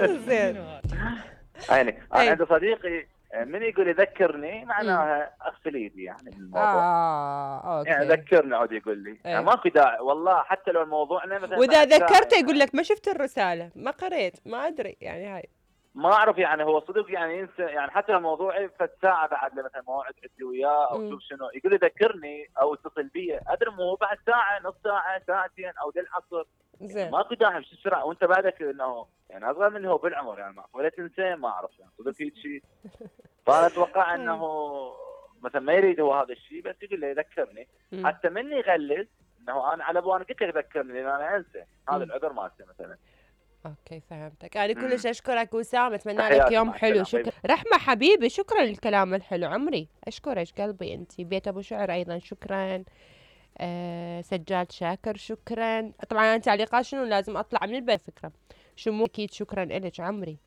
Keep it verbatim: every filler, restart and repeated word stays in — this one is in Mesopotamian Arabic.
زين. يعني انا أي. عندي صديقي من يقول يذكرني مم. معناها اغسل ايدي يعني من الموضوع. اه يعني اوكي. ذكرني عاد يقول لي يعني أي. ماكو داعي والله، حتى لو موضوعنا مثلا واذا بعد ساعه ذكرته يقول يعني. لك ما شفت الرسالة، ما قريت، ما ادري يعني هاي. ما اعرف يعني هو صدق يعني ينسى يعني، حتى لو موضوعي فد ساعه بعد مثلا موعد عندي وياه او مم. شوف شنو يقول لي ذكرني او اتصل بي، ادري مو بعد ساعه نص ساعه ساعتين او للعصر. يعني زين. ماكو داعي بشو السرعه وانت بعدك انه يعني اصغر مني هو بالعمر يعني، ولا تنسى ما اعرف يعني صدق هيك شيء. فانا اتوقع انه طيب. مثلا ما يريد هو هذا الشيء، بس يقول لي ذكرني. مم. حتى مني يغلس انه انا على ابوي انا قلت لك ذكرني لان انا انسى، هذا مم. العذر مالته مثلا. اوكي فهمتك. انا كلش امم اشكرك وسام، اتمنى لك تحياتي يوم مع حلو. السلامه. باي شكرا باي. رحمة حبيبي، شكرا للكلام الحلو عمري، اشكرك قلبي. انتي بيت ابو شعر ايضا شكرا. آه سجاد شاكر شكرا. طبعا انا تعليقات شنو لازم اطلع من البيت فكرة شمو، اكيد شكرا الك عمري.